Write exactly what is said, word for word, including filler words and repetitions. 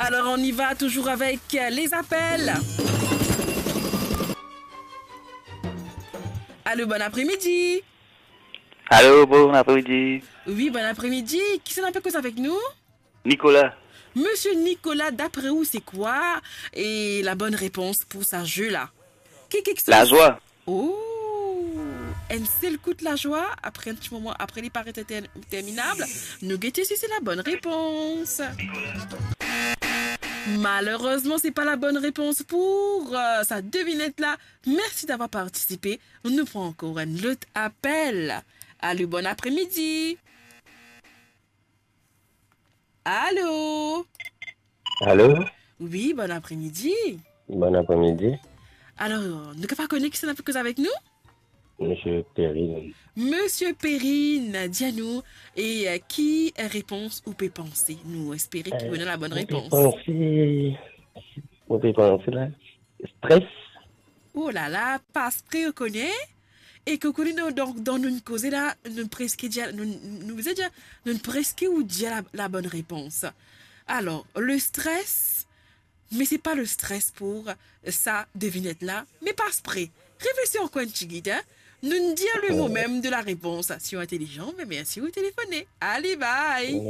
Alors, on y va toujours avec, euh, les appels. Allô, bon après-midi. Allô, bon après-midi. Oui, bon après-midi. Qui c'est qui est avec nous? Nicolas. Monsieur Nicolas, d'après vous, c'est quoi et la bonne réponse pour ce jeu-là? Qui, qui, qui Lazwa. Oh! Un seul coup de la joie, après un petit moment, après les paraît interminables, nous guetter si c'est la bonne réponse. Malheureusement, c'est pas la bonne réponse pour euh, sa devinette-là. Merci d'avoir participé. Nous prenons encore un autre appel. Allô, bon après-midi. Allô? Allô? Oui, bon après-midi. Bon après-midi. Alors, nou kapav kone ki sa ki avek nou? Monsieur Perrine. Monsieur Perrine, dis-nous, et euh, qui réponse ou peut penser? Nous espérons que vous avez la bonne réponse. Ou pe panse la? Stress. Oh là là, pas près au connaît. E ki ou kone, donk, dan nou koze la, nou preske dir, nou, nou, nou preske ou dir la, la bonne réponse. Alors, le stress, mais c'est pas le stress pour sa devinette-là, mais pas près. Réfléchis encore un petit guide, hein? Nous dire le mot même de la réponse. Si vous êtes intelligent, mais merci, vous téléphonez. Allez, bye!